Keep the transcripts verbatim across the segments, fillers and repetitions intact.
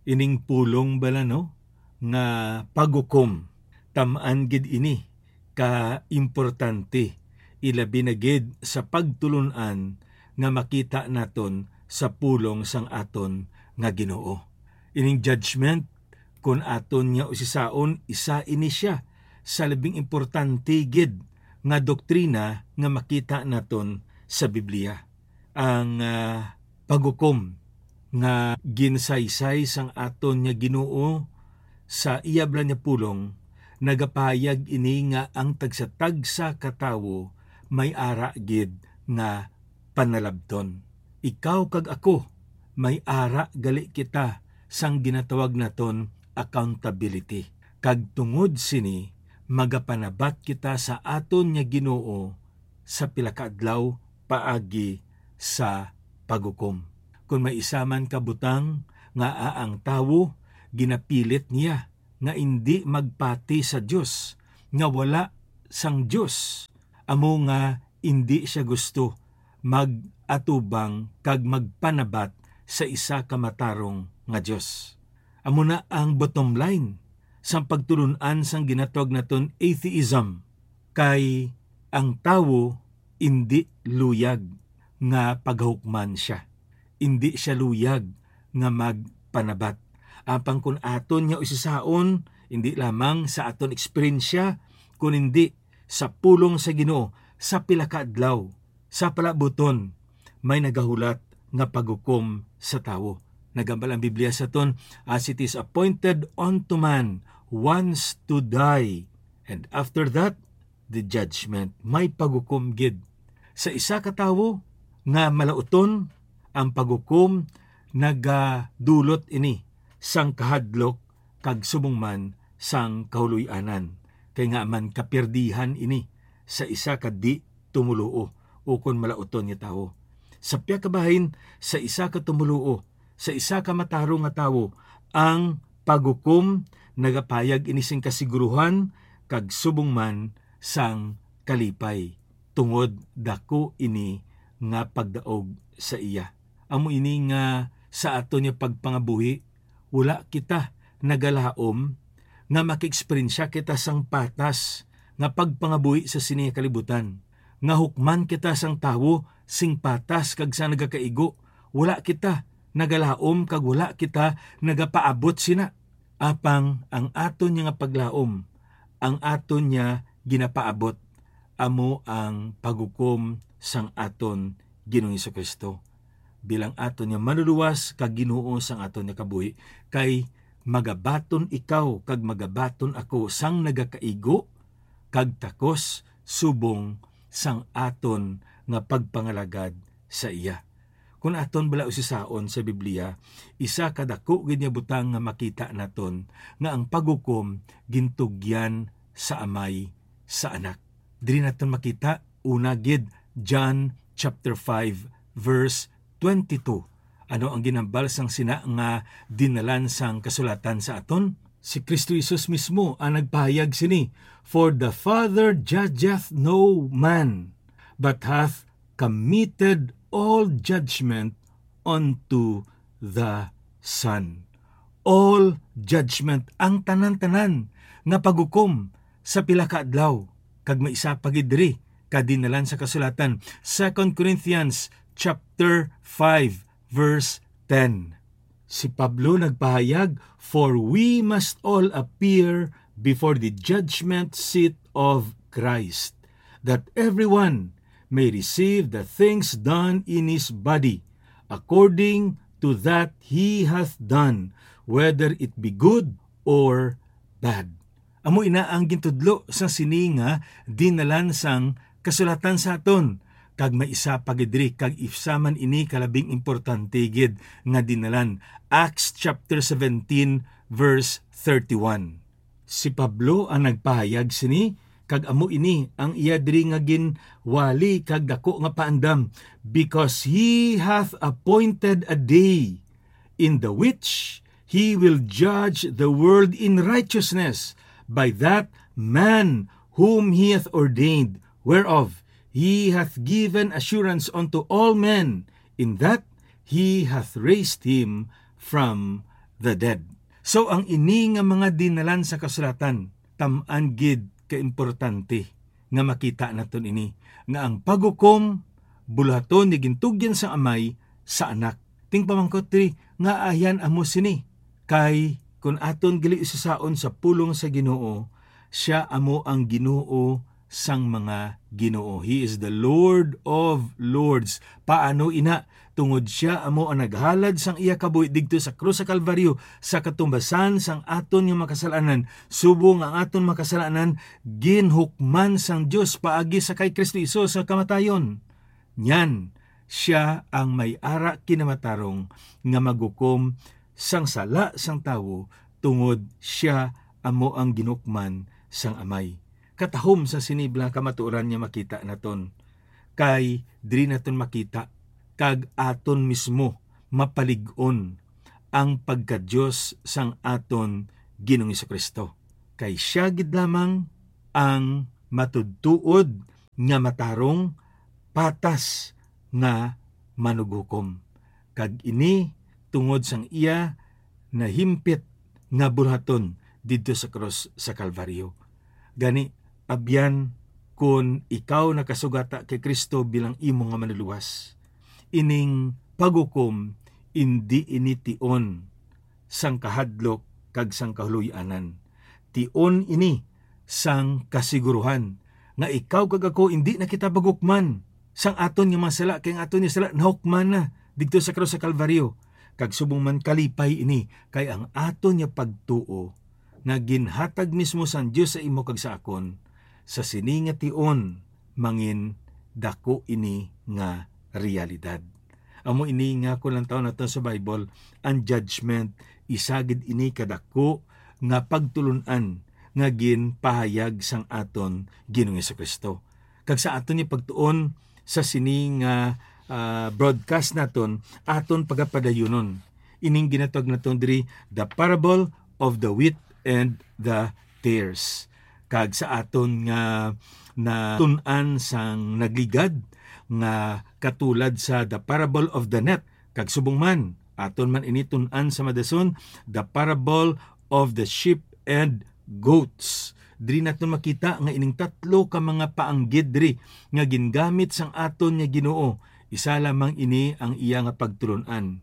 Ining pulong bala, no, nga paghukom, tam-an gid ini ka importante, ilabi na gid sa pagtulon-an nga makita naton sa pulong sang aton nga Ginoo. Ining judgment, kun aton nga usisaon, isa ini sia sa labing importante gid nga doktrina nga makita naton sa Biblia. Ang, ah, paghukom nga ginsaysay sang aton nga Ginoo sa iya bala nga pulong, nagapahayag ini nga ang tagsa-tagsa ka tawo may ara gid nga panalabton. Ikaw kag ako, may ara gali kita sang ginatawag naton accountability. Kag tungod sini, magapanabat kita sa aton nga Ginoo sa pila ka adlaw paagi sa paghukom. Kon may isa man ka butang nga ang tawo ginapilit niya nga indi magpati sa Dios, nga wala sang Dios, amo nga indi sia gusto mag-atubang kag magpanabat sa isa ka matarong nga Dios. Amo na ang bottom line sang pagtulon-an sang ginatawag naton atheism, kay ang tawo indi luyag nga paghukman sia. Indi sia luyag nga magpanabat. Apang kun aton nga usisaon, indi lamang sa aton eksperyensya, kun indi sa pulong sa Ginoo, sa pila ka adlaw, sa palabuton, may nagahulat nga paghukom sa tawo. Nagambal ang Biblia sa aton, "As it is appointed unto man once to die, and after that, the judgment." May paghukom gid sa isa ka tawo nga malauton. Ang paghukom nagadulot ini sang kahadlok kag subong man sang kahuloy-anan, kay nga man kapirdihan ini sa isa ka di tumoluo ukon malauton nga tawo. Sa pihak ka bahin, sa isa ka tumoluo, sa isa ka matarong nga tawo, ang paghukom nagapahayag ini sing kasiguruhan kag subong man sang kalipay, tungod daku ini nga pagdaog sa iya. Amo ini nga sa aton nga pagpangabuhi, wala kita nagalaom nga makaeksperyensya kita sang patas nga pagpangabuhi sa sini nga kalibutan, nga hukman kita sang tawo sing patas kag sang nagakaigo. Wala kita nagalaom kag wala kita nagapaabot sina. Apang ang aton niya nga paglaom, ang aton niya ginapaabot, amo ang paghukom sang aton Ginoong Jesu-Cristo bilang aton nga Manluluwas kag Ginoo sang aton nga kabuhi, kay magabaton ikaw kag magabaton ako sang nagakaigo kag takos subong sang aton nga pagpangalagad sa iya. Kon aton bala usisaon sa Biblia, isa ka daku gid nga butang nga makita naton nga ang paghukom gintugyan sa Amay sa Anak. Diri naton makita, una gid, John chapter five, verse twenty-two. Ano ang ginhambal sang sina nga dinalan sang kasulatan sa aton? Si Kristo Jesus mismo ang nagpahayag sini, "For the Father judgeth no man, but hath committed all judgment unto the Son." All judgment, ang tanan-tanan nga paghukom sa pila ka adlaw. Kag may isa pa gid diri ka dinalan sa kasulatan, Second Corinthians chapter five, verse ten. Si Pablo nagpahayag, "For we must all appear before the judgment seat of Christ, that everyone may receive the things done in his body, according to that he hath done, whether it be good or bad." Amo ina ang gintudlo sa sini nga dinalan sang kasulatan sa aton. Kag may isa pa gid diri, kag isa man ini ka labing importante gid nga dinalan, Acts chapter seventeen, verse thirty-one. Si Pablo ang nagpahayag sini, kag amo ini ang iya diri nga ginwali kag daku nga paandam, "Because he hath appointed a day in the which he will judge the world in righteousness by that man whom he hath ordained, whereof he hath given assurance unto all men, in that he hath raised him from the dead. So, ang ini nga mga dinalan sa kasulatan, tam-an gid ka importante nga makita naton ini, nga ang paghukom buluhaton ni gintugyan sang Amay sa Anak. Ting pamangkot diri, nga ayan amo sini? Kay kun aton gali usasaon sa pulong sa Ginoo, siya amo ang Ginoo sang mga ginoo. He is the Lord of lords. Paano ina? Tungod siya amo ang naghalad sang iya kabuhi digto sa krus sa Kalbaryo, sa katumbasan sang aton nga makasalanan, subong ang aton makasalanan ginhukman sang Dios paagi sa kay Kristo Jesus sa kamatayon. Niyan, siya ang may ara kinamatarong nga maghukom sang sala sang tawo, tungod siya amo ang ginhukman sang Amay. Katahom sa sini, mga kamatuoran, nga makita naton, kay diri naton makita kag aton mismo mapalig-on ang pagka-Dios sang aton Ginoong Jesu-Cristo. Kay siya gid lamang ang matudtuod nga matarong, patas nga manughukom, kag ini tungod sang iya nahimpit nga buluhaton didto sa krus sa Kalbaryo. Gani, abyan, kun ikaw nakasugata kay Cristo bilang imo nga Manlulowas, ining paghukom indi ini tion sang kahadlok kag sang kahuloy-anan. Tion ini sang kasiguruhan nga ikaw kag ako indi na kita paghukman sang aton nga mga sala, kay ang aton nga sala nahukman na didto sa krus sa Kalbaryo. Kag subong man, kalipay ini, kay ang aton nga pagtuo nga ginhatag mismo sang Dios sa imo kag sa akon, sa sini nga tion, mangin dako ini nga realidad. Amo ini nga, kung lantawon naton sa Bible, ang judgment, isa gid ini kadako nga pagtulon-an nga ginpahayag sang aton Ginoong Jesu-Cristo. Kag sa aton nga pagtuon sa sini nga, ah, broadcast naton, aton pagapadayunon ining ginatawag naton diri the parable of the wheat and the tares. Kag sa aton nga natun-an sang nagligad, nga katulad sa the parable of the net, kag subong man, aton man ini tun-an sa madason, the parable of the sheep and goats. Diri naton makita nga ining tatlo ka mga paanggid diri nga gingamit sang aton nga Ginoo, isa lamang ini ang iya nga pagtulon-an: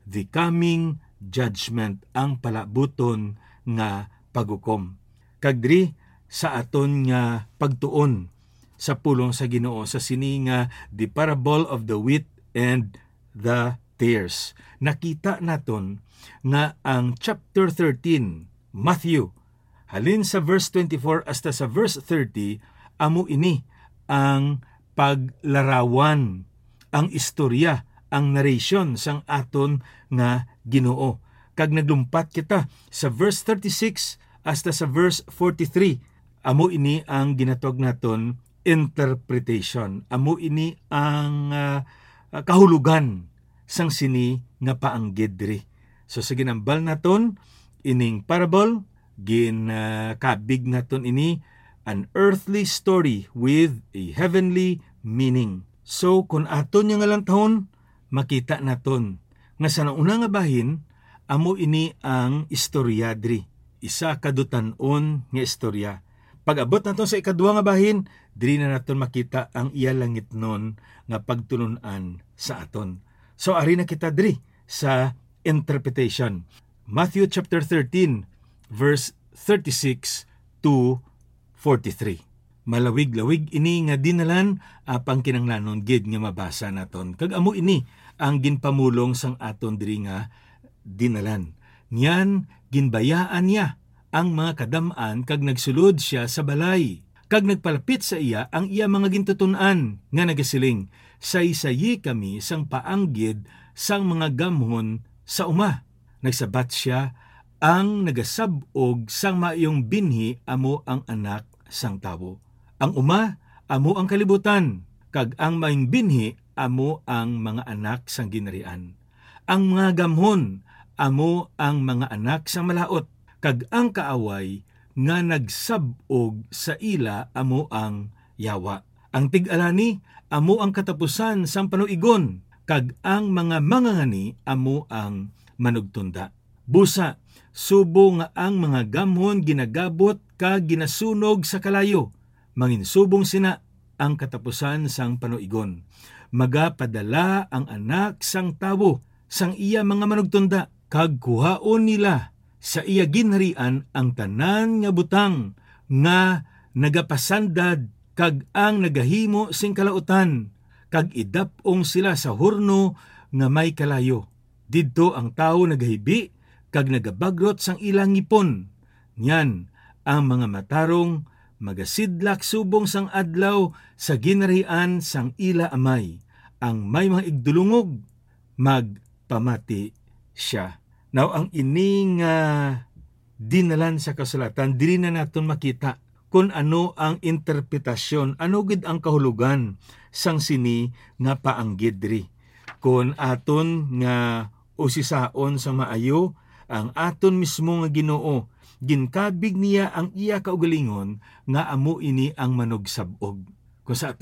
the coming judgment, ang palabuton nga paghukom. Kag diri sa aton nga pagtuon sa pulong sa Ginoo, sa sini nga the parable of the wheat and the tares, nakita naton nga ang chapter thirteen, Matthew, halin sa verse twenty-four hasta sa verse thirty, amo ini ang paglarawan, ang istorya, ang narration sang aton nga Ginoo. Kag naglumpat kita sa verse thirty-six hasta sa verse forty-three. Amo ini ang ginatawag naton interpretation. Amo ini ang, ah, ah, kahulogan sang sini nga paanggid diri. So, sa ginambal naton, ining parable, gin, ah, kabig naton ini, an earthly story with a heavenly meaning. So, kung aton nga nga lantawon, makita naton nga sa nauna nga bahin, amo ini ang istorya diri. Isa ka dutan-on nga istorya. Pag-abot naton sa ikadua nga bahin, diri na naton makita ang iya langitnon nga pagtulon-an sa aton. So, ari na kita diri sa interpretation. Matthew chapter thirteen, verse thirty-six to forty-three. Malawig-lawig ini nga dinalan, apang kinahanglanon gid nga mabasa naton. Kag amo ini ang ginpamulong sang aton diri nga dinalan. Niyan, ginbayaan niya ang mga kadam-an kag nagsulod sia sa balay. Kag nagpalapit sa iya ang iya mga gintuton-an nga nagasiling, "Saysayi kami sang paanggid sang mga gamhon sa uma." Nagsabat sia, "Ang nagasab-og sang maayong binhi amo ang Anak sang Tawo. Ang uma amo ang kalibutan, kag ang maayong binhi amo ang mga anak sang Ginharian. Ang mga gamhon amo ang mga anak sang Malaut, kag ang kaaway nga nagsab-og sa ila amo ang Yawa. Ang tig-alani amo ang katapusan sang panuigon, kag ang mga mangangani amo ang manugtunda." Busa, subong nga ang mga gamhon ginagabot kag ginasunog sa kalayo, manginsubong sina ang katapusan sang panuigon. Magapadala ang Anak sang Tawo sang iya mga manugtunda, kag kuhaon nila sa iya ginharian ang tanan nga butang nga nagapasandad kag ang nagahimo sing kalautan, kag idap-ong sila sa horno nga may kalayo. Didto ang tawo nagahibi kag nagabagrot sang ila ngipon. Niyan, ang mga matarong magasidlak subong sang adlaw sa ginharian sang ila Amay. Ang may mga igdulungog, magpamati sia. Now, ang ini nga dinalan sa kasulatan, dili na naton makita kon ano ang interpretasyon, ano gid ang kahulogan sang sini nga paanggid diri. Kon aton nga usisaon sa maayo ang aton mismo nga Ginoo, ginkabig niya ang iya kaugalingon nga amo ini ang manugsab-og. Kung sa